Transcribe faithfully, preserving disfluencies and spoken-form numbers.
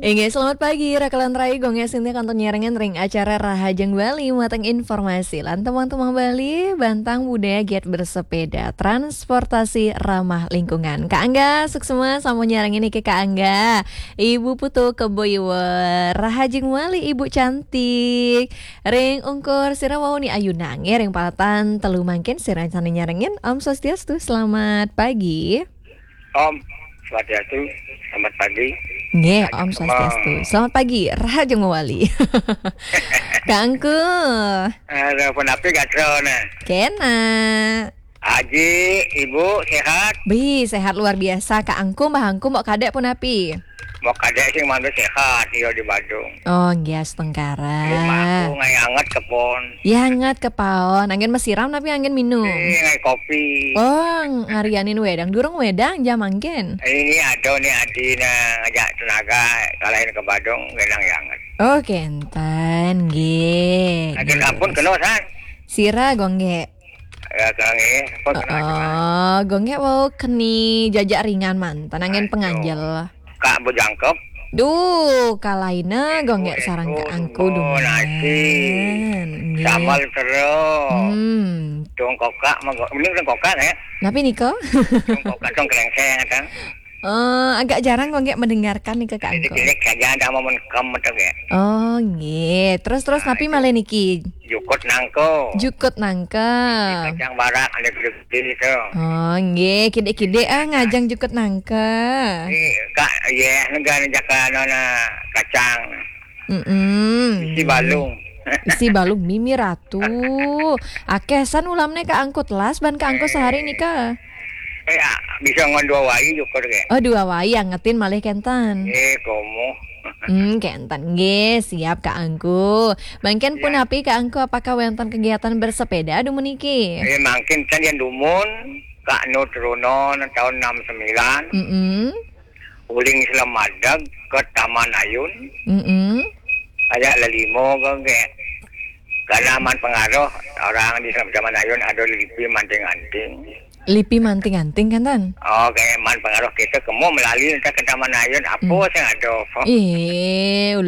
Inggih, selamat pagi, rakalan rai, Gung Gek Sinti kantun nyarengin ring acara Rahajeng Bali, muatan informasi lan tembang-tembang Bali, bantang budaya giat bersepeda, transportasi ramah lingkungan. Kak Angga, suksma sampun nyarengin niki Kak Angga. Ibu Putu Kebo Iwer, Rahajeng Bali, Ibu cantik. Ring ungkur sira wau ni ayunang, nggih, ring paletan telu mangkin sira sane nyarengin. Om Swastiastu, selamat pagi. Om Swastiastu, selamat pagi. Nggih, Om Swastiastu. Selamat pagi, Rahajeng Bali. Kak Angku. Aduh, punapi gatra ne? Kena. Aji, Ibu sehat? Bi, sehat luar biasa. Kak Angku, Mbah Angku, Mbok Kadek punapi? Mbok Kadek sing mantu sehat, iya di Badung. Oh, nggih, astungkara. Rumahku ngai anget kepon. Ya, anget kepon. Anggen mesiram tapi anggen minum. Ini ngai kopi. Oh, ngarianin wedang. Durung wedang, jam anggen. Ini ada nih Adi nah ngajak tenaga kalahin ke Badung, wedang ya anget. Oh, kenten, nggih. Ada sampun kena, San? Sira, Gung Gek. Ya, Kang, eh, apa kena? Oh, Gung Gek wau keni jajak ringan manten anggen penganjel. Kak bejangkep. Duh, kalaina Gung Gek sareng Kak Angku dumun. Nasi. Nggih. Sambal terus. Hmm. Tong kokak, mah, ini tong kokak, ya? Napi nika? Tong kokak, tong krengseng, kan? Eh, agak jarang Gung Gek mendengarkan nih ke Kak Angku. Cilik-cilik saja ada mau menkam atau gak? Oh, nggih. Terus, terus napi malih niki? Jukut nangko. Jukut nangka. Kacang barak ada gede-gede itu. Oh, nggih, kidik-kidik ah ngajang jukut nangka. Ini Kak, ya, negara jaka nona kacang. Mm-mm. Isi balung. Isi balung, mimi ratu. Akeh san ulamne Kak Angku telas ban Kak Angku sehari nika. Eh, ya, bisa ngon dua wai jukut ke? Oh, dua wai angetin malih kenten. Eh, komo. Hmm, kenten. Nggih, siap Kak Angku. Mangkin punapi Kak Angku, apakah wenten kegiatan bersepeda dumun niki? Eh, mangkin kan yang dumun, Kak Nu Trunon tahun enam sembilan. Mm-mm. Uling Selamadeg ke Taman Ayun. Mm-mm. Ajak lelimo ke, ke. Karena man pengaruh orang di Taman Ayun ada lipi manting-anting. Lipi manting-anting kan, Tan? Oh, kayak man pengaruh kita kemu melalui entah ke Taman Ayun, apa sing ada. Ih, ulu